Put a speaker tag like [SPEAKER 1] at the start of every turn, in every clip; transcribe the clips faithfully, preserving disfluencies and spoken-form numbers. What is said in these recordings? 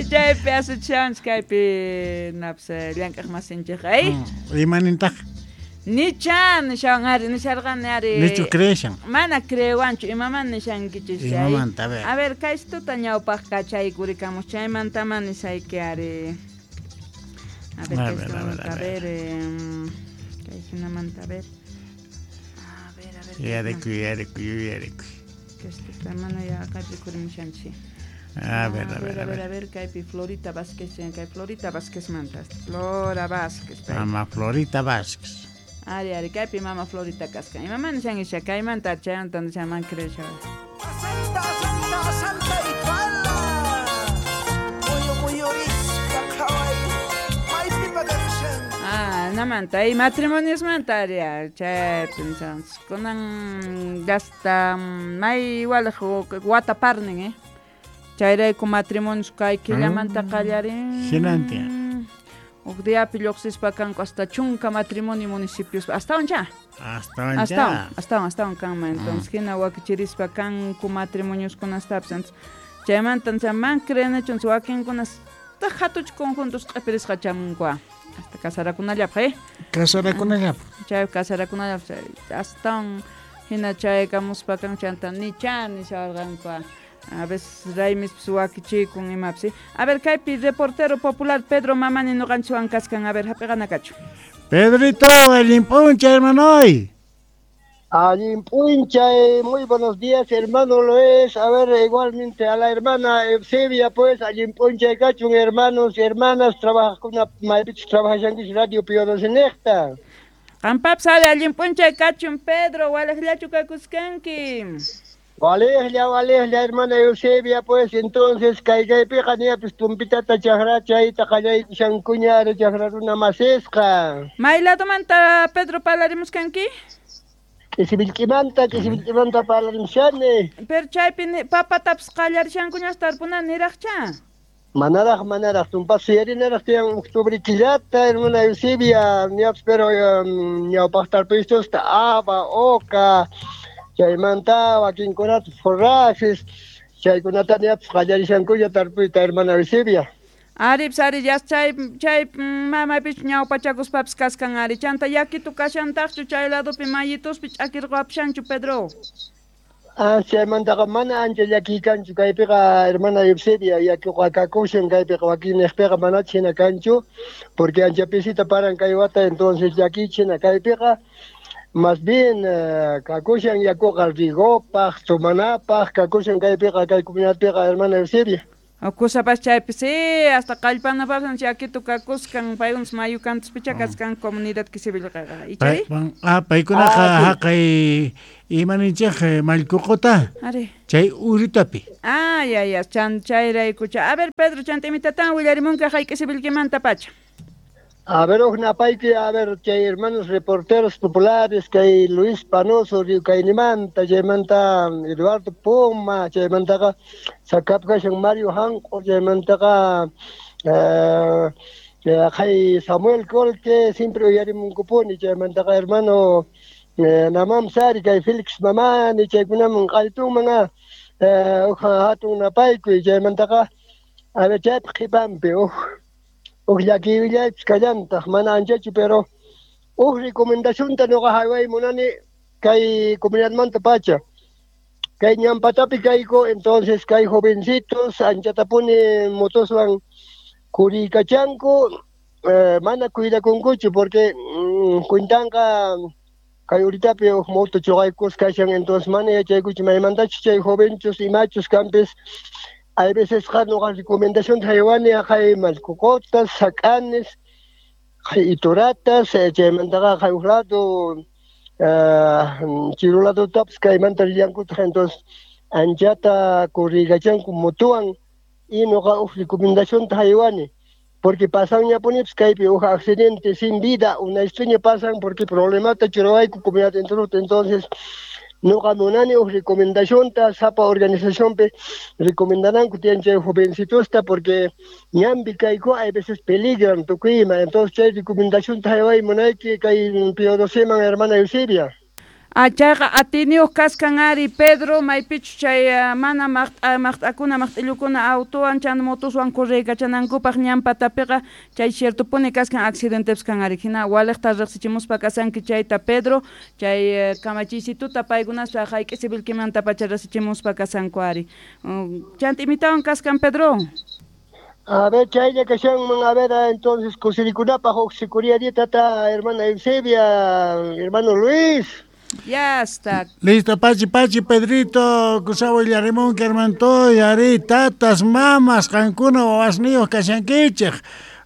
[SPEAKER 1] Chaypi asuchanchik kaypi naps llank'aq masinchik ay.
[SPEAKER 2] Imanintaq?
[SPEAKER 1] Nichan nishan ari nisharqani ari.
[SPEAKER 2] Nichu creeshan?
[SPEAKER 1] Mana creewanchu imaman nishankichis chay.
[SPEAKER 2] Imamanta, a ver.
[SPEAKER 1] A ver kaystuta ñawpaq kachaykurikamus chaymantama nisayki ari. A ver,
[SPEAKER 2] A ver, a ver,
[SPEAKER 1] a
[SPEAKER 2] a
[SPEAKER 1] ver,
[SPEAKER 2] ver.
[SPEAKER 1] eh, kay hinamanta a ver. A ver, a ver.
[SPEAKER 2] Yarikuy, yarikuy, yarikuy.
[SPEAKER 1] Kaystuta mana ya kaypi kurimushanchik.
[SPEAKER 2] A ver, a ver, a ver.
[SPEAKER 1] A ver, kaypi Florita Vázquez, kay Florita Vázquez manta. Flora Vázquez.
[SPEAKER 2] Mama Florita Vázquez.
[SPEAKER 1] Ari, ari, kaypi mama Florita kaskan. Imamán nishan kaymanta chaymanta nishan creesha.
[SPEAKER 3] Santa, santa, santa ipala. Muyu muyurispa qhaway. Maypi pakakushan.
[SPEAKER 1] Ah, namanta, y matrimonios manta ari, chaypi nishan. Kunan gasta may igual wata parnin, eh. Chayrayku matrimonios kay killamanta qallarin.
[SPEAKER 2] Hinantin.
[SPEAKER 1] Huk diapi lluqsispa kanku hasta chunka matrimonio municipios. Astawan cha?
[SPEAKER 2] Astawan
[SPEAKER 1] cha. Astawan, astawan kanman. Entonces, hina wakichirispa kanku matrimonios kunastapis. Entonces, chaymanta man creenachu wakinkunas hatuch conjuntos q'ipirisqa chamunkua. Hasta casarakunallapaq, eh?
[SPEAKER 2] Casarakunallapaq.
[SPEAKER 1] Chay casarakunallapaq. Astawan hina chaykamuspa kanku chanta nicha nisharqankua. A veces raymis wakichikun imapsi. A ver, kaypi reportero popular Pedro Mamani noqanchikwan kaskan. A ver, hap'iqanakachu.
[SPEAKER 2] Pedrito, allin p'unchay, hermanoy.
[SPEAKER 4] Allin p'unchay, muy buenos días, hermano Luis. A ver, igualmente a la hermana Eusebia, pues, allin p'unchay kachun, hermanos y hermanas, trabajakuna, maypichus trabajashankichis Radio Pío Doce.
[SPEAKER 1] Qampapis ari allin p'unchay kachun, Pedro, walaqllachu kakuskanki.
[SPEAKER 4] Walejlla, walejlla, hermana Eusebia, pues, entonces, kay kaypiqa ñapis tumpitata chaqrachayta qallaykushankuña ari chaqra runa masisqa.
[SPEAKER 1] May ladomanta, Pedro, parlarimuskanki?
[SPEAKER 4] K'isibilk'imanta, k'isibilk'imanta parlarimushani.
[SPEAKER 1] Pero chaypi papatapis qallarishankuñas tarpuna niraqcha.
[SPEAKER 4] Manaraq, manaraq, tumpas suyarinaraq tiyan octubre killata, hermana Eusebia, ñapis, pero ñawpaq tarpuystusta aba, oca, chaymanta wakinkunata forrajes, chaykunata ñapis qallarishankuña tarpuyta, hermana Eusebia.
[SPEAKER 1] Aripis ari yas chay chay mamaypis ñawpachakuspapis kaskan ari chanta yakitu kashantaqchu chay ladopi mayituspi ch'akirqapushanchu Pedro.
[SPEAKER 4] Ah, chaymantaqa mana ancha llakiy kanchu kaypiqa hermana Eusebia yakuqa kakushan kaypiqa wakinniqpiqa manachu hina kanchu porque ancha pisita paran kay wata entonces llakiychu hina kaypiqa. Más bien, kakushan yakuqa rigopaq, tomanapaq, kakushan kaypiqa, kay comunidadpiqa, hermana Eusebia.
[SPEAKER 1] Kusapas chaypi, sí, hasta qallpanapas yakitu kakuskan, paykunas mayu kantuspicha kaskan comunidad Kisibilqaqa. Ichari?
[SPEAKER 2] Ah, paykunaqa haqay imaninchik mallkuquta.
[SPEAKER 1] Ari.
[SPEAKER 2] Chay uritapi.
[SPEAKER 1] Ah, ya, ya, chan chayraykucha. A ver, Pedro, chanta imitatan willarimunka hay Kisibilqimanta pacha.
[SPEAKER 4] A ver, ujnapayki, a ver, chay hermanos reporteros populares, kay Luis Panoso, Riukaynimanta, chaymanta Eduardo Puma, chaymantaqa sakapkashan Mario Hanqo, chaymantaqa kay Samuel Colque, siempre uyarimunkupuni, chaymantaqa hermano Namam Sari, kay Félix Mamani, chaykunaman qalltunman, uja hatun napaykuy, chaymantaqa, a ver, chaypi qhipanpi, uj. Uj llakiypis kallantaq mana anchachu pero uj recomendacionta noqa hayway munani kay comunidadmanta pacha kay ñampatapi kayku entonces kay jovencitos anchatapuni motoswan kuriykachanku eh, mana cuidakunkuchu porque mm, cuentanqa kay uritapi uj moto chuqaykus kashan entonces mana yachaykuchu maymantachus chay jovenchus imachus kanpis. Hay veces noqa recomendación haywani hay mallkuqutas, sak'anis, hay ituratas, chaymantaqa hay uj lado chiru ladotapis kaymanta rillankutaq entonces anchata kurriykachanku motowan y noqa uj recomendacionta haywani porque pasanñapunipis kaypi uj accidente sin vida una historia pasan porque problemata churawayku comunidad entero entonces noqa munani uj recomendacionta sapa organizacionpi recomendananku tiyan chay jovencitosta porque ñanpi kayku hay veces peligran tukuyma entonces chay recomendacionta hayway munayki kay Pío Doceman hermana Eusebia.
[SPEAKER 1] Ah, chayqa atiniyuq kaskan ari Pedro maypichu chay mana maqt'a maqt'akuna maqt'illukuna autowan chan motoswan correykachanankupaq ñan patapiqa chay ciertopuni kaskan accidentepis kan ari hina waliqta riqsichimuspa kasanki chayta Pedro chay kamachiysituta paykunaspa hayk'isi vilquimanta pacha riqsichimuspa kasanku ari. Chanta imitawan kaskan Pedro.
[SPEAKER 4] A ver, chaylla kashanman, a ver, entonces kusirikunapaq huk sikuria tata hermana Eusebia, hermano Luis.
[SPEAKER 1] Ya está.
[SPEAKER 2] Listo, pachi, pachi, Pedrito, kusawa illarimunki, hermantoy, ari, tatas, mamas, qankuna, wawasniyuq kashankichej.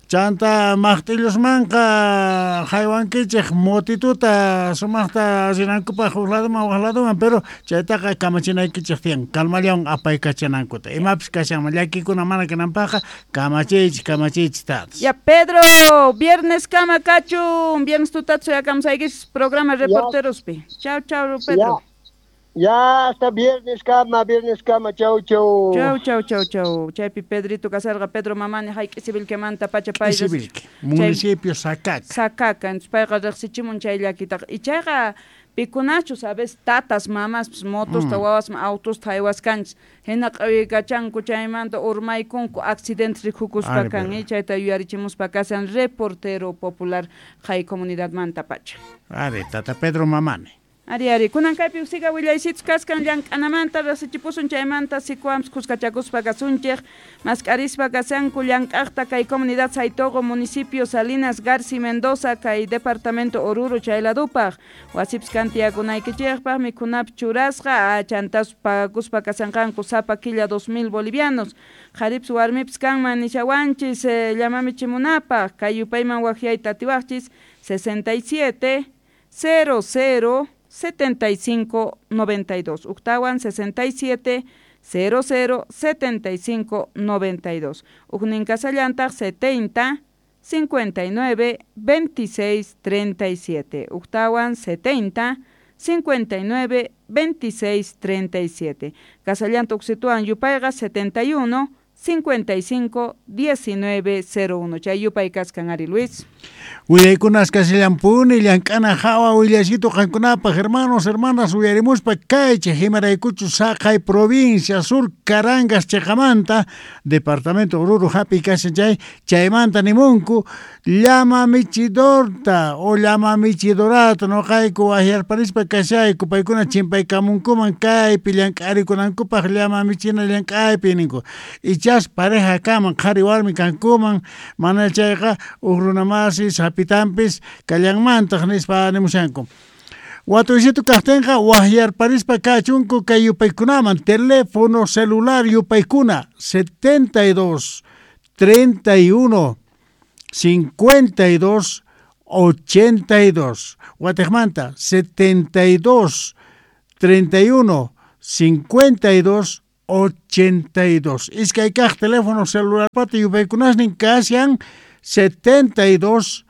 [SPEAKER 2] Chanta maqt'illusmanqa haywankichej motituta sumaqta rinankupaq huk laduman wak laduman, pero chaytaqa kamachinaykichej tiyan, calmallawan apaykachanankuta. Imapis kashanman llakikuna mana kananpaqqa kamachiychik, kamachiychik tatas.
[SPEAKER 1] Ya Pedro, viernes kama kachun, viernes tutata suyakamusaykichis programa reporterospi. Chau, chau, Pedro.
[SPEAKER 4] Ya. Ya, hasta viernes kama, viernes kama, chau, chau.
[SPEAKER 1] Chau, chau, chau, chau. Chaypi Pedrito kasarqa, Pedro Mamani, hayk'isi vilquemanta pacha pay.
[SPEAKER 2] Vilque, municipio Sacaca.
[SPEAKER 1] Sacaca, entonces payqa riqsichimun chay llakitaqa. Y chayqa pikunachus, a veces tatas, mamas, motosta, mm. wawasman, autosta haywaskanchis. Hina q'awiykachanku chaymanta urmaykunku accidentes rikukuspa kan, y chayta yuyarichimuspa kasan reportero popular hay comunidadmanta pacha.
[SPEAKER 2] Ari, tata Pedro Mamani.
[SPEAKER 1] Ari, ari, kunan kaypi usiqa willaysitus kaskan llank'anamanta riqsichipusun chaymanta sikuampis kuskachakuspa kasunchej mask'arispa kasanku llank'aqta kay comunidad Saitogo, municipio Salinas Garci Mendoza, kay departamento Oruro chayladupaq wasipis kan tiyakunaykichejpaq mikhunapis churasqa chantas pagakuspa kasanqanku sapa killa dos mil bolivianos qharipis warmipis kanman nishawanchis eh, llamamichimunapaq kay yupayman waqyayta atiwaqchis sesenta y siete cero cero setenta y cinco noventa y dos, Uctawan sesenta y siete cero cero setenta y cinco noventa y dos, Ujnin Casallantaq setenta cincuenta y nueve veintiséis treinta y siete, Uctawan setenta cincuenta y nueve veintiséis treinta y siete, Casallanta Uxituan yupayqa setenta y uno cincuenta y cinco diecinueve cero uno. Chay yupay kaskan ari Luis.
[SPEAKER 2] Willaykunas kasillanpuni llank'ana hawa willaysitu qankunapaq hermanos, hermanas uyarimuspa kaychej imaraykuchu saqay provincia sur Carangas chiqamanta departamento Oruro hapi kashan chay chaymanta nimunku llama michidorta o llama michidorata noqayku wahyarparispa kashayku paykuna chimpaykamunkuman kaypi llank'arikunankupaq llama michina llank'aypi ninku ichas pareja kaman qhari warmi kankuman mana chayqa huk runamasi sapitampis kallanmantaq nispa nimushanku. Watuysitu kaqtinqa wahyarparispa kachunku kay yupaykunaman teléfono celular yupaykuna setenta y dos treinta y uno cincuenta y dos ochenta y dos Watejmanta setenta y dos treinta y uno cincuenta y dos ochenta y dos. Iskay kaq teléfono celular pata yupaykunasnin kashan setenta y dos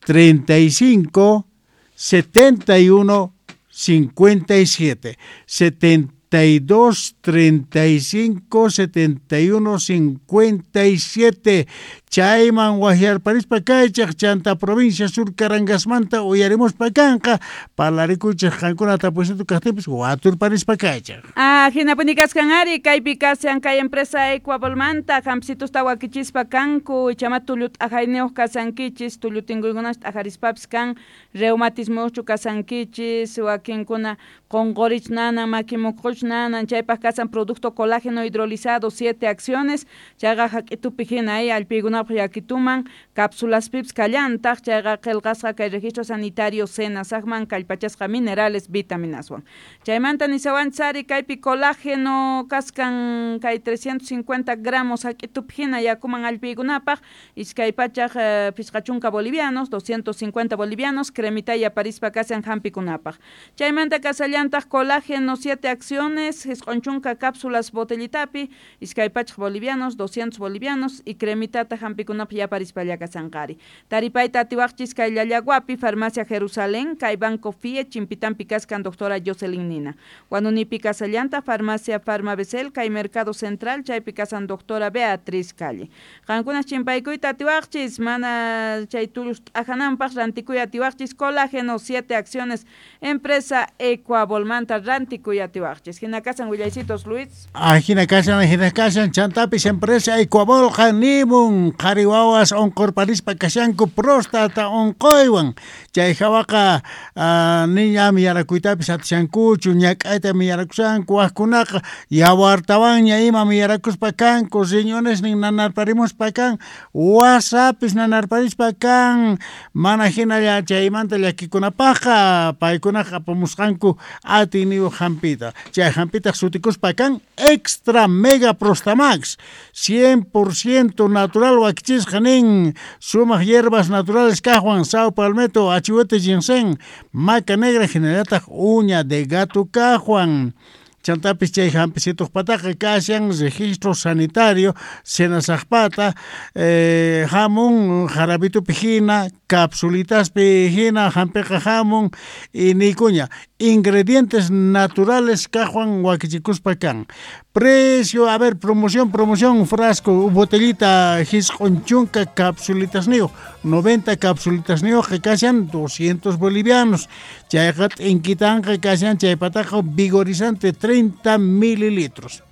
[SPEAKER 2] treinta y cinco setenta y uno cincuenta y siete, setenta y dos treinta y cinco setenta y uno cincuenta y siete. Chayman wahyarparispa kaychej chanta provincia sur Carangasmanta uyarimuspa kanqa parlarikuchej qankuna tapusitu kaqtinpis waturparispa kaychej.
[SPEAKER 1] Ah, hinapuni kaskan ari kaypi kashan kay empresa Ecuabolmanta hampsitusta wakichispa kanku ichama tullu t'ajayniyuq kasankichis tullu tinkuykunash t'ajarispapis kan reumatismochu kasankichis wakinkuna qunqurich nanan makimuqquch nanan chaypaq kasan producto colágeno hidrolizado siete acciones chayqa hak'itupi hina ay allpiykunapaq yakituman cápsulaspips kallantaq chayqa qillqasqa kay registro sanitario senasaqman kallpachasqa minerales vitaminaswan chaymanta nisawanchari kaypi colágeno kaskan kay trescientos cincuenta gramos hak'itupi hina yakuman allpiykunapaq iskay pachaq eh, phisqa chunka bolivianos doscientos cincuenta bolivianos cremitaya parispa kasan hampikunapaq chaymanta kasallantaq colágeno siete acciones acciones, jisq'un chunka cápsulas botellitapi, iskay pachaj bolivianos, doscientos bolivianos y cremitata hampikunapaj yaparispalla kasanqari. Taripayta atiwaqchis kay Llallaguapi, Farmacia Jerusalén, kay Banco F I E, Chimpitampi kaskan doctora Jocelyn Nina. Huanunipi kasallanta, Farmacia Farmabesel, kay Mercado Central, chaypi kasan doctora Beatriz Calle. Qankunas chimpaykuyta atiwaqchis, mana chay tullus t'ajananpaj rantikuy atiwaqchis, colágeno, siete acciones, empresa Ecuabolmanta rantikuy atiwaqchis. Hina kasan willaysitos, Luis.
[SPEAKER 2] Ah, hina kasan, hina kasan, chantapis empresa Ecuabolqa nimun, qhari wawas onqurparispa kashanku próstata onquywan. Chay hawaqa uh, niñami yarakuytapis atishankuchu, ñak'aytami yarakushanku, wajkunaqa yawartawanña imami yarakuspa kanku, riñonesnin nanarparimuspa kan, wasapis nanarparispa kan, mana hinalla chaymanta llakikunapajqa paykunaqa apamusqanku atiyniyuq hampita. Chay hampitaq sutikuspa kan Extra Mega Prostamax, cien por ciento natural wakichisqa nin, sumaq hierbas naturales kajwan, sao palmetto, achihuete ginseng, maca negra, hinallataq uña de gato kajwan. Chantapis chay hampisituqpataqa kashan registro sanitario senasaqpata, eh, hamun jarabitupi hina, capsulitaspi hina hampiqa hamun y nikuña ingredientes naturales kajwan wakichikuspa kan. Precio, a ver, promoción, promoción, frasco, botellita jisq'un chunka capsulitasniyuq, noventa capsulitasniyuq kashan doscientos bolivianos. Chayqa t'inkitanqa kashan chaypataqa vigorizante treinta mililitros.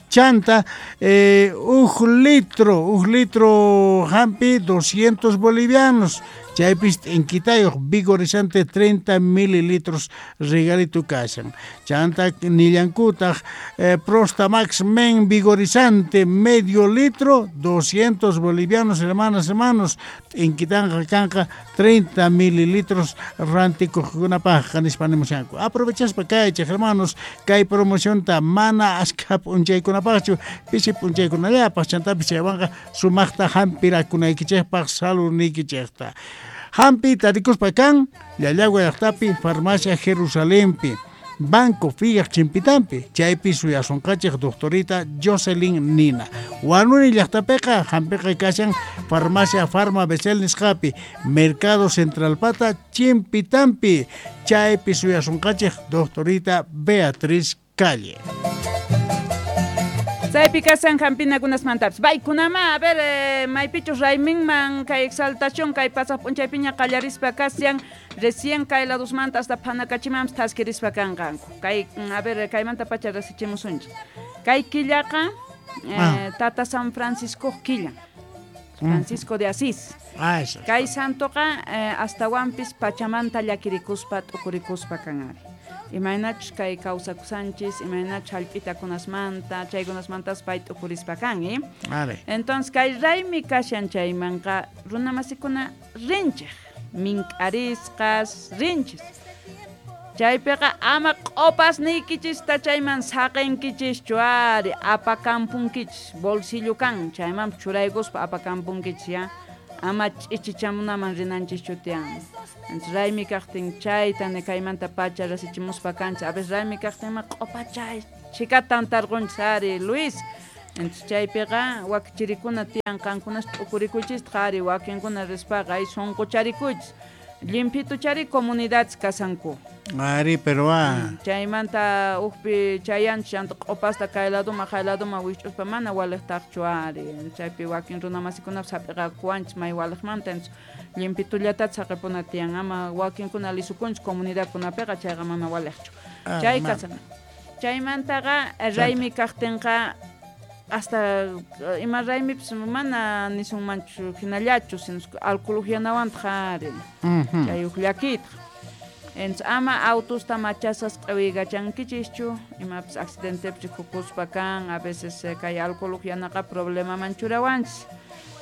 [SPEAKER 2] Chanta, eh, uj litro, uj litro hampi doscientos bolivianos. Chaypis t'inquitayuq vigorizante treinta mililitros regalito kashan. Chanta nillankutaq eh, Prostamax Men vigorizante medio litro doscientos bolivianos, hermanas, hermanos. T'inquitanqa kanqa treinta mililitros rantikuqkunapajqa nispa nimushanku. Aprovechaspa kaychej, hermanos, kay promocionta mana ashkha p'unchaykunapajchu, pisi p'unchaykunallapaj, chantapis chaywanqa sumaqta hampirakunaykichejpaj saludniykichejta. Hampi tarikuspa kan Llallagua llaqtapi, Farmacia Jerusalempi, Banco Fiyaq Chimpitampi, chaypi suyasunqachej doctorita Jocelyn Nina. Huanuni llaqtapiqa hampiqa kashan Farmacia Farma Besel nisqapi, Mercado Centralpata Chimpitampi, chaypi suyasunqachej doctorita Beatriz Calle.
[SPEAKER 1] Chaypi kasan hampinakunasmantapis. Baykunama, a ver, eh, maypichus rayminman kay exaltación kay pasaq p'unchaypiña qallarispa kashan, recién kay ladusmanta hasta phanakachimanpis thaskirispa kanqanku. Kay, a ver, kaymanta pacha rasichimusunchik. Kay killaqa, eh,
[SPEAKER 2] ah.
[SPEAKER 1] Tata San Francisco killa. Francisco de Asís.
[SPEAKER 2] Ah, eso.
[SPEAKER 1] Kay santoqa eh, astawanpis pachamanta llakirikuspa t'ukurikuspa kanari. Imaynachus kay kawsakusanchis, imaynachus hallp'itakunasmanta, chaykunasmantas pay t'ukurispa kan, eh?
[SPEAKER 2] Are.
[SPEAKER 1] Entonces kay raymi kashan chaymanqa runamasikuna rinchej, mink'arisqas rinchis. Chaypiqa ama q'opasniykichista chayman saqinkichishchu ari, apakampunkichis, bolsillo kan, chayman churaykuspa apakampunkichis ya. Ama ch'ichichamunaman rinanchischu tiyan. Entonces raymi kaqtin chayta ni kaymanta pacha rasichimuspa kanchis. A veces raymi kaqtinma q'opachay chhikatan tarqunchis ari, Luis. Entonces chaypiqa wakichirikuna tiyan qankunas t'ukurikuychistaq ari, wakinkuna rispaqa ay sunqucharikuychis. Llimpituchari comunidades kasanku.
[SPEAKER 2] Ari, pero ah.
[SPEAKER 1] Chaymanta ujpi chayanchis chanta q'opasta kay laduma jay laduma wikch'uspa mana waliqtaqchu ari. Chaypi wakin runamasikunapas hap'iqakuwanchis may waliqmanta. Entonces llimpitullatatas saqipuna tiyan, ama wakinkuna lisukunchis comunidadkunapiqa chayqa mana waliqchu.
[SPEAKER 2] Ah,
[SPEAKER 1] Chay
[SPEAKER 2] mana.
[SPEAKER 1] kasan. Chaymantaqa raymi kaqtinqa hasta ima raymipis mana nisunmanchu hinallachu, sino alcohol uhyanawantaj ari.
[SPEAKER 2] Mm-hmm.
[SPEAKER 1] Chay uj llakiytaq. Entonces ama autosta machasas q'iwiykachankichishchu, imapis accidentepi rikukuspa kan, a veces eh, kay alcohol uhyanaqa problemaman churawanchis,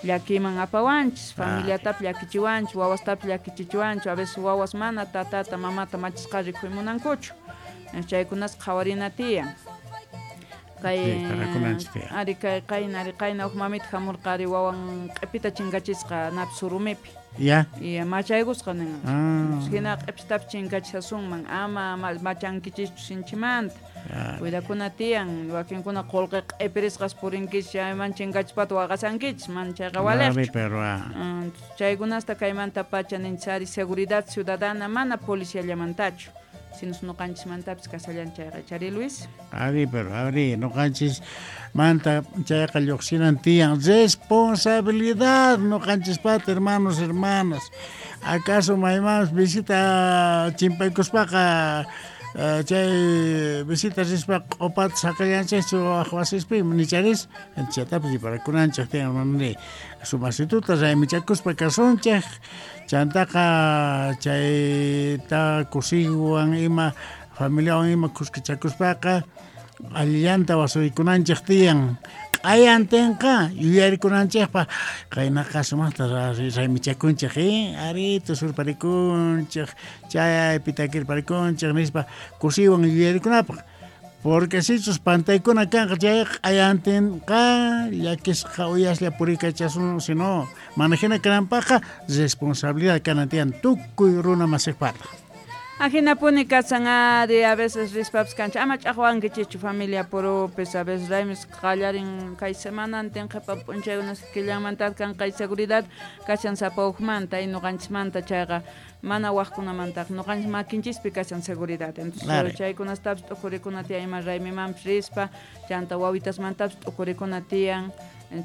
[SPEAKER 1] llakiyman apawanchis, familiatapis llakichiwanchis, wawastapis llakichichiwanchis, a veces wawas mana tatata mamata machisqa rikuymunankuchu. Entonces chaykunas qhawarina tiyan. Kay ari kay qayna ari qayna huk mamita hamurqa ari wawan q'ipita chinkachisqa napi surumipi.
[SPEAKER 2] Ya.
[SPEAKER 1] Y machaykusqa nin.
[SPEAKER 2] Ah.
[SPEAKER 1] Hina q'ipitapi chinkachisasunman ama machankichischu sinchimanta. Cuidakuna tiyan wakinkuna qullqi q'ipirisqas purinkichis chayman chinkachispata waqasankichis mana chayqa waliqchu.
[SPEAKER 2] Pero
[SPEAKER 1] chaykunasta kaymanta pacha ninchis ari seguridad ciudadana mana policiallamantachu. Sino noqanchismantapis kasallan chayqa chari Luis.
[SPEAKER 2] Ari, pero ari, noqanchis manta chayqa lluqsinan tiyan responsabilidad noqanchispata hermanos, hermanas. Acaso maymanpis visita chimpaykuspaqa chay visita rispa q'upata saqallanchikchu waq wasispi nicharis chatapis riparakunanchik tiyan hermano sumasituta raymichakuspa kasunchik chantaqa chayta kusiywan ima familiawan ima kuskachakuspaqa allillanta wasuykunanchik tiyan q'ayantinqa yuyarikunanchikpaq qaynaqa sumaqta raymichakunchik eh ari tusurparikunchik chaypi takirparikunchik nispa kusiywan yuyarikunapaq porque sichus pantaykuna kanqa chay q'ayantinqa llakisqa uyaslla purikachasun sino mana hina kananpaqqa responsabilidad kanan tiyan tukuy runa masiqpata.
[SPEAKER 1] Ajinapuni kasan ari a veces rispapis kancha ama ch'aqwankichikchu familia purupis a veces raymis qallarin kay semanantin qhipa p'unchaykunas killanmanta kan kay seguridad kashan sapa hukmanta y ñuqanchismanta chayqa mana waqkunamantaq ñuqanchis makinchispi kashan seguridad entonces chaykunastapis t'ukurikuna tiyan ima raymimanpis rispa chanta wawitasmantapis t'ukurikuna tiyan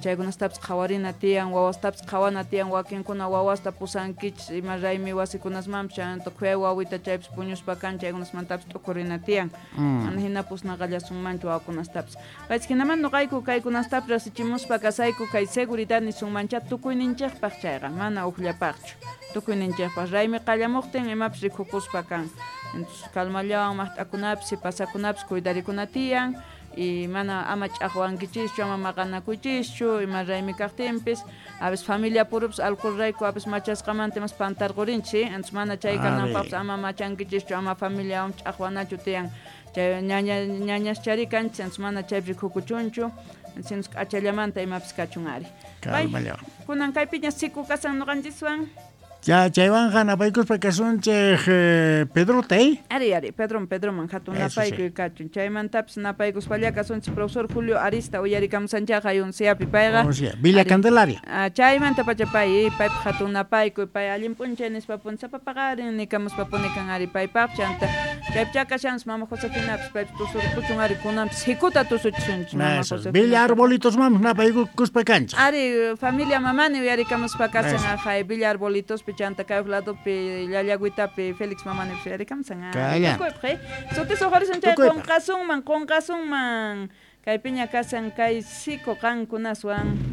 [SPEAKER 1] chaykunastapis qhawarina tiyan wawastapis qhawana tiyan wakinkuna wawasta pusankichis ima raymi wasikunasmanpis chanta khuyay wawita chaypis puñuspa kan chaykunasmantapis t'ukurina tiyan mana hina pusnaqallasunmanchu wawakunastapis paychis hinaman nuqayku kaykunastapis rasichimuspa kasayku kay seguridad nisunmancha tukuyninchikpaq chayqa mana ukllapaqchu tukuyninchikpaq raymi qallamuqtin imapis rikukuspa kan entonces calmallawan maqt'akunapis sipasakunapis cuidarikuna tiyan y mana ama ch'aqwankichischu ama maqanakuychischu ima raymi kaqtinpis a veces familia purupis alcoholrayku a veces machasqamanta imas pantarqurinchis entonces mana chay kananpaqpis ama machankichischu ama familiawan ch'aqwanachu tiyan chay ñaña ñañaschari kanchis entonces mana chaypi rikukuchunchu entonces k'achallamanta imapis kachun ari kunan kaypiña siku kasan ñuqanchiswan.
[SPEAKER 2] Ya, chaywanqa napaykuspa kasunchik eh, Pedrota, eh?
[SPEAKER 1] Ari, ari, Pedro, Pedroman hatun napaykuy sí. Kachun. Chaymantapis napaykuspalla kasunchik profesor Julio Arista uyarikamusanchaq ayunsiapi payqa.
[SPEAKER 2] O sea, Villa Candelaria.
[SPEAKER 1] Ah, chaymanta pacha pay, paypaq hatun napaykuy, pay allin p'unchay nispa pun sapapaqarin nikamuspa punikan ari paypaq chanta. Chaypicha kashanchis mama Josefinapis paypis tusurpuchun ari kunanpis hikuta tusuchisunchis mama Josefina.
[SPEAKER 2] Villa Arbolitos mamos napaykuspa kanchik.
[SPEAKER 1] Ari, familia mamani uyarikamuspa kasan ajay Villa Arbolitos chanta kay ladopi llallagüitapi Félix mamani uyarikamusan. Tukuypaq, sutis uqarisun chay qunqasunman qunqasunman kaypiña kasan kay siku qankunaswan.